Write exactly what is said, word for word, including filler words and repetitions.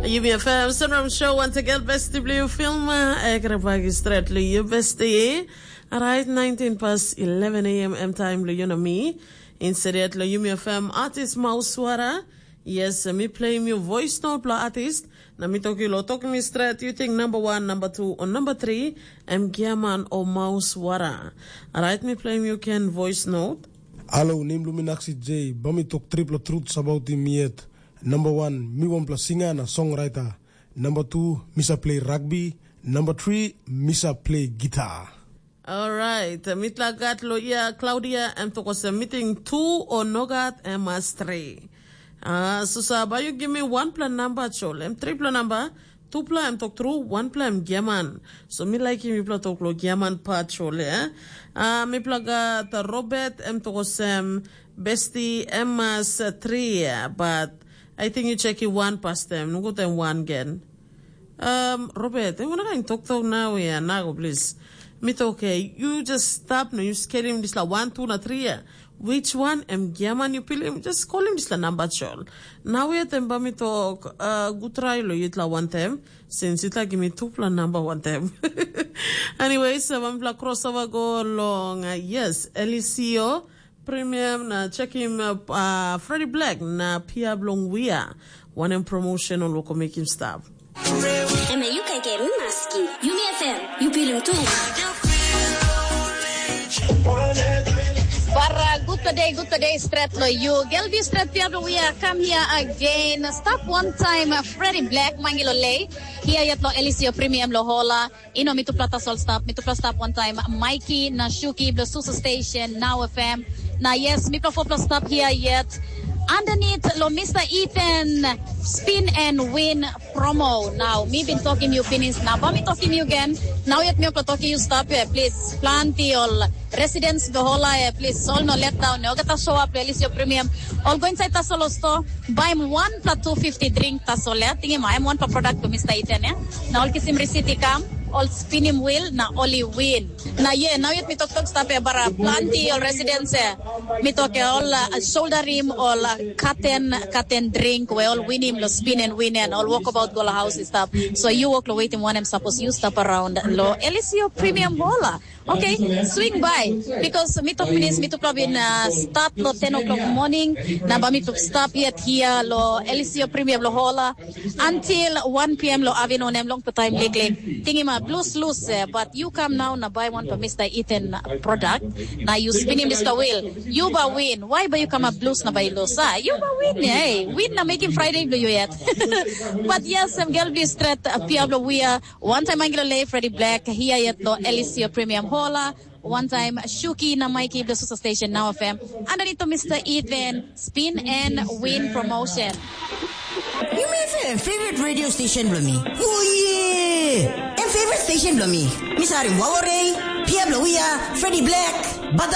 Yumi F M Sunrise Show, once again, besti bilong yu film, eh, kena pagi stret lo yu besti. Alright, nineteen past eleven a m, M time lo yu na mi. Instead lo Yumi F M artist Mauswara. Yes, mi play yu voice note lo artist. Na mi toki lo toki mi stret, you think number one, number two, or number three, em Giaman o Mauswara. Alright, mi play yu can voice note. Alo, nem lo mi Naksi J, ba mi tok tripla truth about him yet. Number one, mi wanpela singa na songwriter. Number two, mi sa play rugby. Number three, mi sa play guitar. Alright, mitla gat lo ia Claudia em toko se meeting two o no gat em mas three. Ah, so sa ba you give me one plan number chol, em three plan number, two plan em tok through, one plan giaman. So mi like him, you plan tok lo giaman pa chol, eh? Ah, mi pla gat Robert em toko sem besti em mas three, but I think you check it one past them, no go them one again. Um, Robert, eh, wanakain toktok nau ya nago, please. Mi tok, okay, you just stop no, you skelim dispela one, two na three ya. Which one em giaman you pilim? Just call him dispela number chol. Nau ya tem ba mi tok, uh, good try lo yutla one time, since yutla give me two pla number one time. Anyway, so one pla crossover go long, uh, yes, Elisio, Premium na check him up, uh, Freddy Black na Pia Blong Wia. One em promotion on local make him stop. Eme yu kaikai mi maski. Yumi F M, yu pilim tu. Bara gutpla dei, gutpla dei stret lo yu. Gelbi stret Pia Blong Wia, come here again. Stop one time, uh, Freddy Black, mangilo lei. Here yet lo Elisio Premium lo hola. Ino mitupela tasol stap, mitupela stap wantaim Mikey na Shuki bilong Susu Station, Now F M. Na yes, mipela fopela stap hia yet. Underneath lo Mister Ethan, Spin and Win promo. Now, mi bin tokim yu pinis, na ba mi tokim yu gen. Nau yet mi okla tokim yu stap ya, please. Planti ol residents behola ya, please. Sol no let down. Ogata show up, please, your premium. Ol go inside tasol lo store. Baim wanpela two fifty drink tasol ya, tingim em wanpela product bilong Mister Ethan ya. Na ol kisim receipt i kam, ol spinim wheel na ol i win. Na ye, nau yet mi toktok stap ya bara planti ol residents ya. Mi tok ya ol uh, shoulder rim ol uh, katen katen drink we ol winim lo spin and win and ol walk about go la house i stap. So you walk lo waiting one em suppose you stap around lo Elisio Premium Hola. Okay, swing by. Because mi tok pinis, mi tupla bin uh, start lo ten o'clock morning, na ba mi tup stop yet here lo Elisio Premium lo Hola until one p m lo afternoon em long time liklik. Tingima blues loose, eh, but you come now na buy one for Mister Ethan product. Na you spin him this wheel. You ba win. Why ba you come up blues na ba you lose? Ah, you ba win, eh? Win na making Friday lo you yet. But yes, I'm girl be straight. Uh, Piablo, we are One time Angelo Lay, Freddy Black, here yet lo Elisio Premium Hola. One time Shuki na Mikey Blue Susa Station Now F M. Underneath to Mister Ethan, Spin and Win Promotion. You may have a favorite radio station blo me. Oh yeah! And favorite station blo me. Miss Harim Wawarei, Pia Blowia, Freddy Black, Bada